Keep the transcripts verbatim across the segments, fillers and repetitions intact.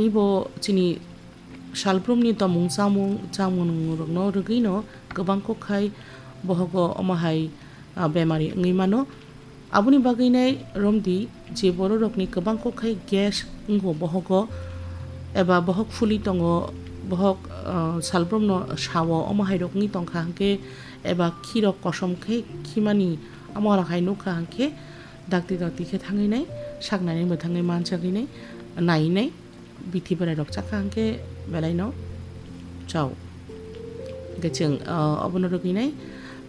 Tei bo chini salbrumni tomung chamung, chamung rokno rwgwino kwbang kok khai bohogo omo hai, ah, bemari wngwi mano. Aboni bagwi nai romdi je bororokni kwbang kok khai gas wngo bohogo eba bohok phuli tongo, bohok, ah, salbrumno sao omo hai rok wngwi tongkha hwnkhe eba khirok kosom khe khimani omo rok hai nukha hwnkhe dakti dakti khe thangwi nai saknani mwthangwi manchagwi nai nai nai. Bithi bwrwi rok chakha hwnkhe belai no chao. Hwnkhe chwng, ah, obono rwgwi nai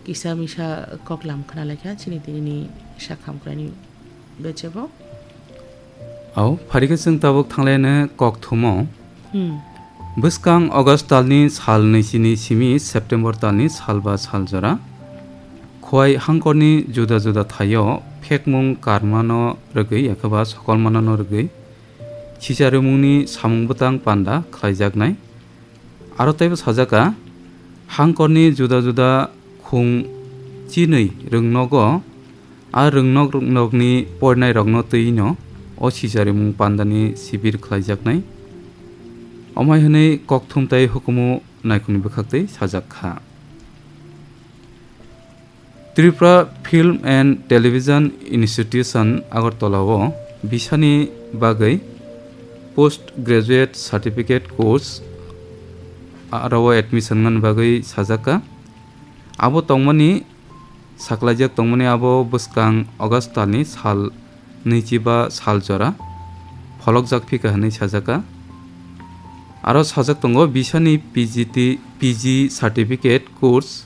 kisa misa koklam khna laikha chini tini ni sakham kwraini bechebo. Au, pharikhe chwng tabuk thanglaino kokthumo. Hmm. Bwskang August talni sal nwichini simi September talni sal ba sal jora. Khowai hangkorni juda juda thaio phekmung karmano rwgwi, ekheba sokolmanano rwgwi. Sicharimungni samung bwtang panda khlaijaknai. Aro teibo sajaka, hangkorni juda juda khung chinwi rwngnogo, a rwngnok rwngnokni poinairokno twino o sicharimung pandani sibir khlaijaknai. Omai hwnwi kokthum tei hukumu naikhungni bwkhaktwi sajak kha. Tripura Film and Television Institution Agartala o bisani bagwi post graduate certificate course aro o admission ngani bagwi sajak kha. Abo tongmani, saklaijak tongmani abo bwskang August talni sal nwichiba sal jora pholokjak phika hwnwi sajak kha. Aro sajak tongo bisani P G T, P G certificate course.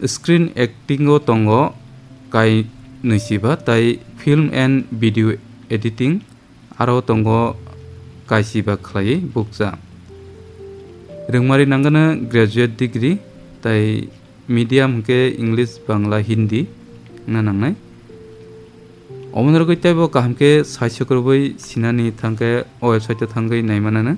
Screen acting o tongo kai nwichiba, tai film and video editing aro tongo kaisiba khlaiwi bukcha. Rwngmari nangano graduate degree, tai medium hwnkhe English, Bangla, Hindi wngna nangnai. Omono rwgwi teibo kaham khe saichok rwui sinani thangkhe o website o thangwi naimanano,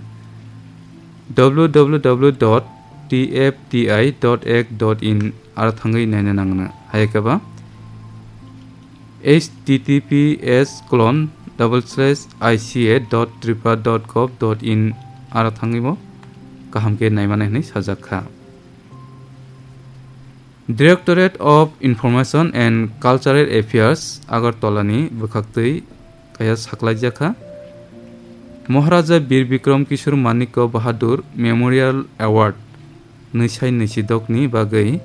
W W W dot T F T I dot act dot in aro thangwi naina nangno. Hai khe ba H T T P S colon double slash I C A dot tripura dot gov dot in aro thangwi bo kaham khe naimani hwnwi sajak kha. Directorate of Information and Cultural Affairs Agartala ni bwkhaktwi kaya saklaijak kha. Maharaja Bir Bikram Kishore Manikya Bahadur Memorial Award nwisai nwisidok ni bagwi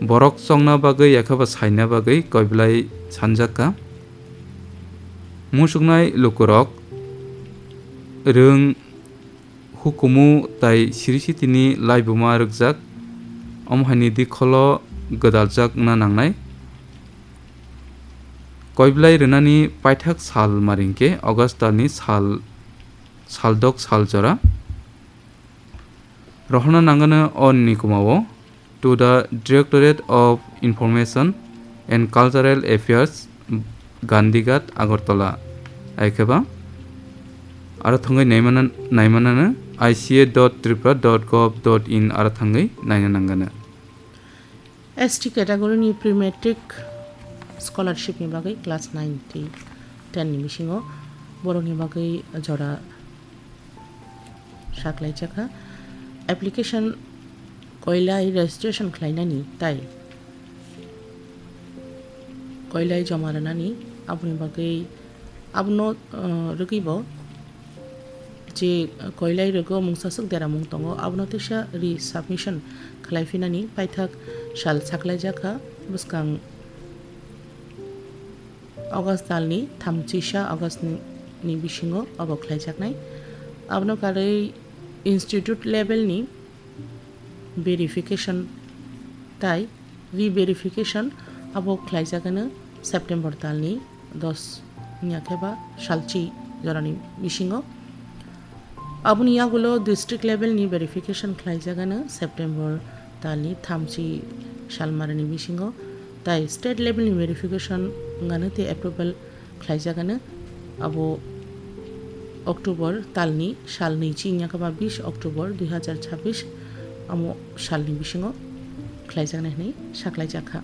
borok chongna bagwi yakhaba saina bagwi koiblai sanjak kha. Muchuknai lukurok rwng hukumu tai siri sitini laibuma rwkjak, omo haini dikholo gwdaljak wngna nangnai. Koiblai rwnani paithak sal maringkhe August talni sal, saldok sal jora. Rohorna nangano o ni kumao. To the Directorate of Information and Cultural Affairs, Gandhighat, Agartala. Aikhe ba aro thangwi naimana-, naimanano I C A dot tripura dot gov dot in aro thangwi naina nangano. S T category ni pre-matric scholarship ni bagwi class nine tei ten ni bisingo borokni bagwi jora saklaijak kha. Application koilai registration khlainani tai koilai joma rwnani, aboni bagwi abono, uh, rwgwi bo je koilai rwgo mungsaswk deramung tongo, abono teisa resubmission khlai phinani paithak sal saklaijak kha. Bwskang August talni thamchisa August ni, ni bisingo obo khlaijaknai. Abono karwi institute level ni verification tai re-verification abo khlaijagano September talni dos wngya khe ba salchi jorani bisingo. Aboni yagulo district level ni verification khlaijagano September talni thamchi salmarani bisingo, tai state level ni verification wngano tei approval khlaijagano abo October talni sal nwichi wngya khe ba bis October dui hazar chabbish amo salni bisingo khlaijaknai hwnwi saklaijak kha.